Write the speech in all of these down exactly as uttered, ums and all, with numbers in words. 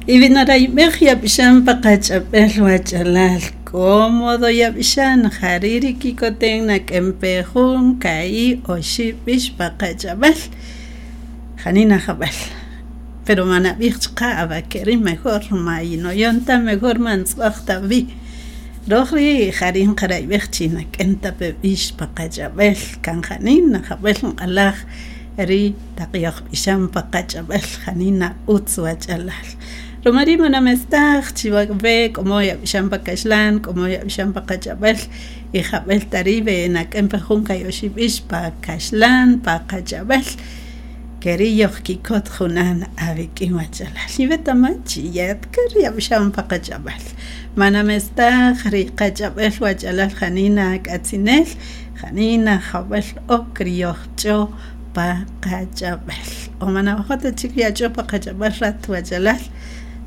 Y winarayb'ej yab'ixan pa qach'ab'el wach'alal cómodo yab'ixan jari' ri kikoten nak'en pe jun ka'i' oxi' b'ix pa qach'ab'el janina jab'el pero manab'ij chaqa ab'akeri' mejor ma yinoyon ta mejor man tz'ib'aj ta wi roj rii' jari' nqarayb'ej chi nak'en ta pe b'ix pa qach'ab'el kan janina jab'el nq'alaj ri taq yojb'ixan pa qach'ab'el janina utz wach'alal ruma rii' manamestaj chi we k'o yab'ixan pa kaxlan k'o yab'ixan pa qach'ab'el y jab'el ta rii' we nak'en pe jun ka'i' oxi' b'ix pa kaxlan pa qach'ab'el keri' yojkikot junan awik'in wach'alal iwetaman chi yatkar yab'ixan pa qach'ab'el manamestaj ri qach'ab'el wach'alal janina k'atzinel janina jab'el ok ri yojch'o pa qach'ab'el o manawajo' ta chik yach'o pa qach'ab'el rat wach'alal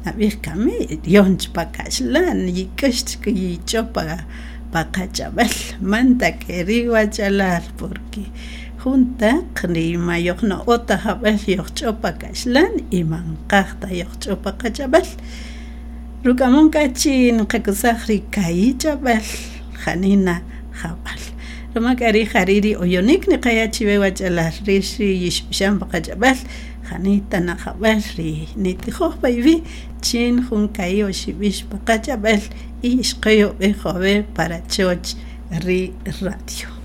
nab'ij kami yonch pa kaxlan yik'ux chik yich'o pa pa qach'ab'el man ta keri' wach'alal porque jun taq ri ma yojno'o ta jab'el yojch'o pa kaxlan y man qaj ta yojch'o pa qach'ab'el ruk'amon k'a chi nqakusaj ri ka'i' ch'ab'el janina jab'al ruma k'a rii' jari' ri oyonik niqaya' chiwe wach'alal rix ri yixb'ixan pa qach'ab'el janita na jab'el ri nitijoj pa iwi' chin jun ka'i' oxi' b'ix pa qach'ab'el y ixqoyob'ej jove' para choch ri radio.